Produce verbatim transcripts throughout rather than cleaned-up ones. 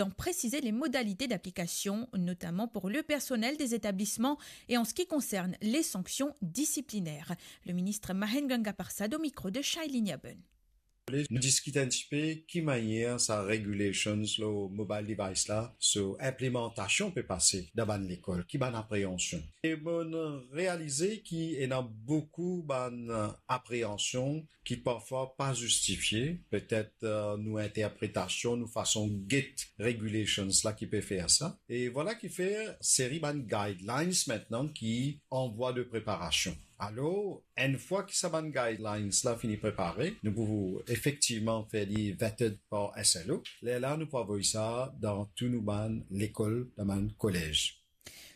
en préciser les modalités d'application, notamment pour le personnel des établissements et en ce qui concerne les sanctions disciplinaires. Le ministre Mahen Ganga Persad au micro de Shailini Aben. Nou diskit enn tipe ki manier sa regulations lor mobile device la, so inplemantasion pe pase dan bann lekol, ki bann apreansion. E mo'nn realize ki ena boukou bann apreansion ki parfwa pa zistifie, petet, eh, nou interpretasion, nou fason get regulations la ki pe fer sa. E vwala ki fer seri bann guidelines mintnan ki an vwa de preparasion. Alor, enn fwa ki sa bann guidelines la fini prepare, nou pou efektivman fer li vetted par S L O. Lerla nou pou avoy sa dan tou nou bann lekol, dan bann kolez.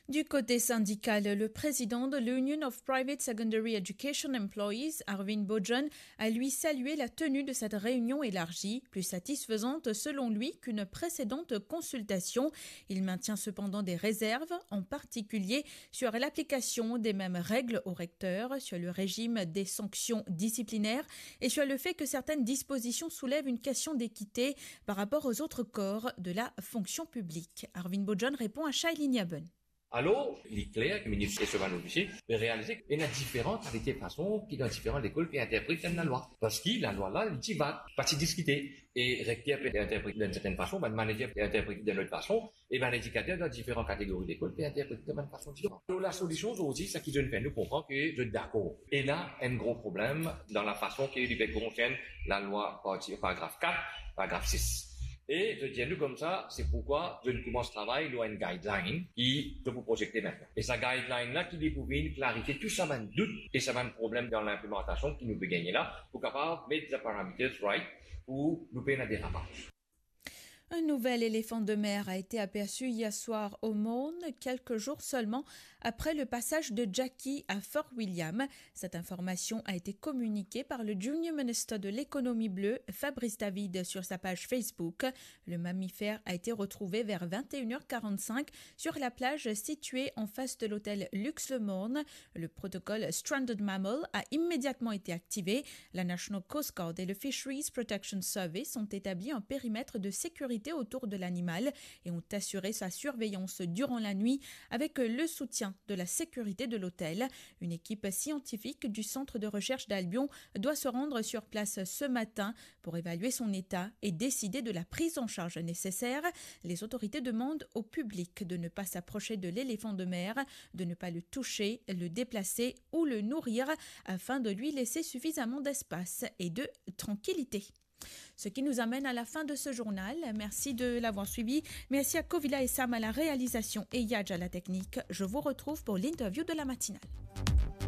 Du côté syndical, le président de l'Union of Private Secondary Education Employees, Arvind Bhojun, a lui salué la tenue de cette réunion élargie, plus satisfaisante selon lui qu'une précédente consultation. Il maintient cependant des réserves, en particulier sur l'application des mêmes règles aux recteurs, sur le régime des sanctions disciplinaires et sur le fait que certaines dispositions soulèvent une question d'équité par rapport aux autres corps de la fonction publique. Arvind Bhojun répond à Shailini Aben. Alor, li kler ki minis e so bann ofisie pe realize ki ena diferan kalite fason ki dan diferan lekol pe interpret enn lalwa. Parski lalwa la, li ti vag, pa ti diskite. E rekter pe interpret dan enn sertenn fason, bann manager pe interpret dan lot fason, e bann edikater dan diferan kategori lekol pe interpret dan bann fason diferan. Alor, lasolision zordi, sa ki zot fer nou konpran ki zot dakor. Ena enn gro problem dan lafason ki li pe konsern lalwa parti, paragraf kat, paragraf sis. E zot dir nou koumsa, se poukwa zot koumans travay lor enn guideline ki zot pou prozekte mintnan. E sa guideline la ki li pou vinn klarifie tou sa bann dout e sa bann problem dan linplemantasion ki nou pe gagne la, pou kapav met the parameters right pou nou pena derapaz. Un nouvel éléphant de mer a été aperçu hier soir au Morne, quelques jours seulement après le passage de Jackie à Fort William. Cette information a été communiquée par le Junior Minister de l'économie bleue, Fabrice David, sur sa page Facebook. Le mammifère a été retrouvé vers vingt et une heures quarante-cinq sur la plage située en face de l'hôtel Lux Le Morne. Le protocole Stranded Mammal a immédiatement été activé. La National Coast Guard et le Fisheries Protection Service ont établi un périmètre de sécurité autour de l'animal et ont assuré sa surveillance durant la nuit avec le soutien de la sécurité de l'hôtel. Une équipe scientifique du Centre de recherche d'Albion doit se rendre sur place ce matin pour évaluer son état et décider de la prise en charge nécessaire. Les autorités demandent au public de ne pas s'approcher de l'éléphant de mer, de ne pas le toucher, le déplacer ou le nourrir afin de lui laisser suffisamment d'espace et de tranquillité. Ce qui nous amène à la fin de ce journal. Merci de l'avoir suivi. Merci à Kovila et Sam à la réalisation et Yadj à la technique. Je vous retrouve pour l'interview de la matinale.